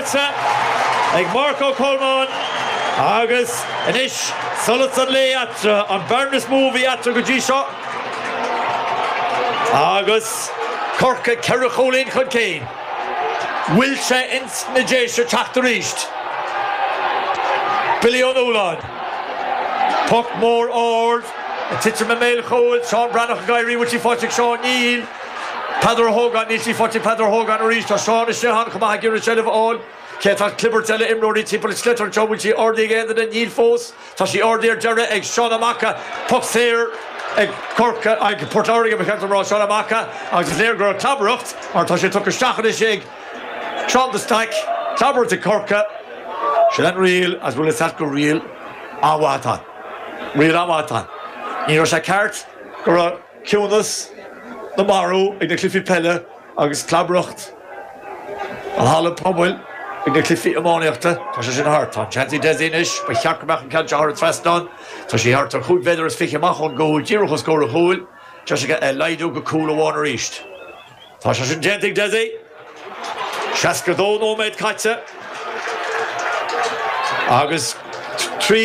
faighte ag Marc Ó Colmáin agus anois solas an lae eatarthu, an bearna is mó a bhí eatarthu go dtí seo agus Corcaigh 4 chúilín chun cinn. Bhfuil sé ins na Déise teacht arís? Billy Ó Nualláin. Poc mór ard ag titim i mbéal chúil. Seán Breathnach ag éirí. Bhfuil sí faighte ag Seán? Níl. Peadar Ó hÓgáin. Níl sí faighte ag Peadar Ó hÓgáin arís. Tá Seán istigh ann chomh maith ag iarraidh seilbh a fháil. Cé tá clibirt eile imreoirí timpeall an sliotar anseo. Bhfuil sí ardaithe ag aon duine? Níl fós. Tá sí ardaithe ar deireadh ag Seán Ó Maca. Poc saor ag Corcaigh, ag Port Láirge ba cheart dom a rá, Seán Ó Maca agus is léir go raibh clabaireacht mar tá sé tugtha isteach anois ag Seán de Staic. Clabaireacht ag Corcaigh. Sin an riail agus bhfuil fhios a't gur riail an-mhaith atá ann. Riail an-mhaith atá ann. Ní raibh sé ceart go raibh ciúnas na marbh ag na cluichí peile agus clabaireacht an halla pobail ag na cluichí iománaíochta. Tá sé sin thart. Tá an seans ag Dessie anois. Ba cheart go mbeadh an ceann seo thar an trasnán. Tá sé thart ar chúig mhéadar is fiche amach ón gcúl, díreach os comhair an chúil. Deis aige é a laghdú go cúl amháin arís. Tá sé sin déanta ag Dessie. 62 nóiméad caite agus.